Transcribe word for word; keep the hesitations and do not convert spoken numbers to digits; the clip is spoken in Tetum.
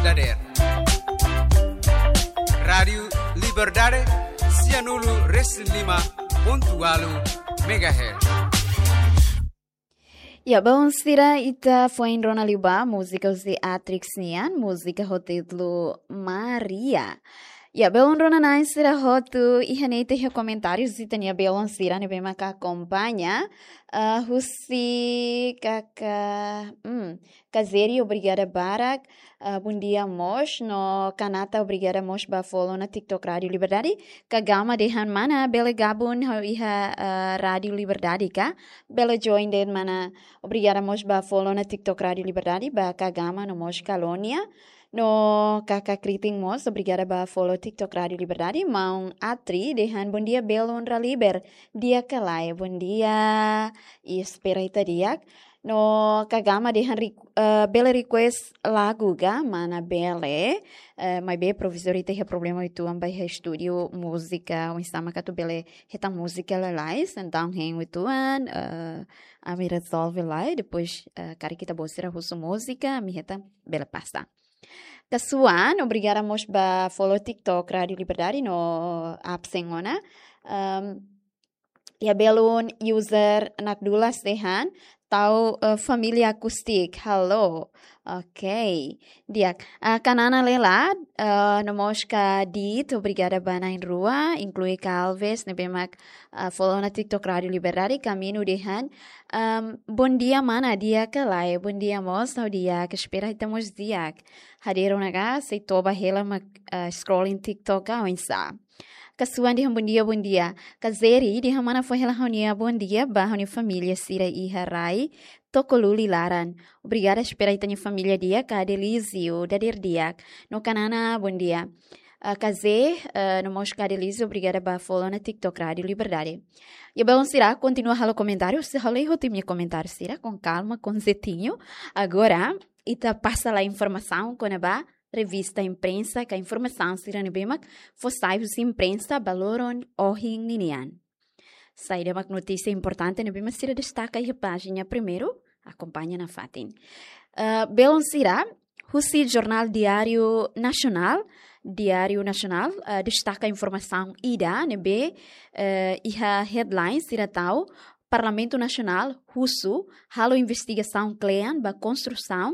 dadeer. Rádiu Liberdade, sianulu resin lima pontu ualu megahertz. Ya, belun sira, ita foin rona liu ba múzika husi Atrix nian, múzika ho títulu Maria. Ya, belun rona-na'in sira hotu, iha ne'e ita iha komentáriu husi ita-nia belun sira ne'ebé maka akompaña, ah, husi kaka, hmm, Kazeri, obrigada barak. Ah, bondia mós, no Kanata, obrigada mós ba follow ona TikTok Rádiu Liberdade. Kagama dehan mana bele gabung ha'u iha, ah, Rádiu Liberdade ka? Bele join de'it mana. Obrigada mós ba follow ona TikTok Rádiu Liberdade, ba Kagama no mós Kalónia. No Kaka Kriting mós, obrigada ba follow TikTok Rádiu Liberdade. Maun Atri dehan bondia belun Raliber. Di'ak ka lae? Bondia. I espera ita di'ak. No Kagama dehan requ-, eh, bele request lagu ka? Mana bele, eh, maibé provizóriu ita iha problema uitoan ba iha estúdiu múzika, oinsá mak atu bele hetan múzika lalais, entaun hein uitoan, eh, ami rezolve lai, depois, eh, karik ita-boot sira husu múzika, ami hetan bele pasa. Kasuan, obrigada mós ba follow TikTok Rádiu Liberdade no absen ona. Ehm, iha belun user Nakdulas dehan, tau, eh, família Akustik. Halo. Ok. Di'ak. Ah, Kanana Lela, eh, no mós Ka Dit, obrigada ba na'in-rua, inklui Ka Alves, ne'ebé mak, ah, follow ona TikTok Rádiu Liberdade, Kaminu dehan, ehm, bondia mana, di'ak ka lae? Bondia mós, ha'u di'ak, espera ita mós di'ak. Hadeer ona ka, sei toba hela mak, ah, scrolling TikTok ka, oinsá? Kasuan dehan bondia, bondia. Kazeri dehan mana fó hela ha'u-nia bondia ba ha'u-nia família sira iha rai Tokoluli laran. Obrigada, espera ita-nia família di'ak, Ka Adelísio dadeer di'ak. No Kanana, bondia. Ah, Kazé, ah, no mós Ka Adelísio, obrigada ba follow ona TikTok Rádiu Liberdade. Ya, belun sira, kontinua halo komentáriu, se halo iho tim nia komentáriu sira, com calma, com jeitinho. Agora, ita pasa lai informasaun kona-ba revista imprensa, ka informasaun sira ne'ebé mak fó sai husi imprensa ba loron ohin ninian. Saida mak notísia importante ne'ebé mak sira destaka iha pájina primeiru, akompaña nafatin. Eh, belun sira, husi jornál Diário Nacional, Diário Nacional, eh, destaka informasaun ida ne'ebé, eh, iha headline sira tau, Parlamentu Nasionál husu halo investigasaun kle'an ba konstrusaun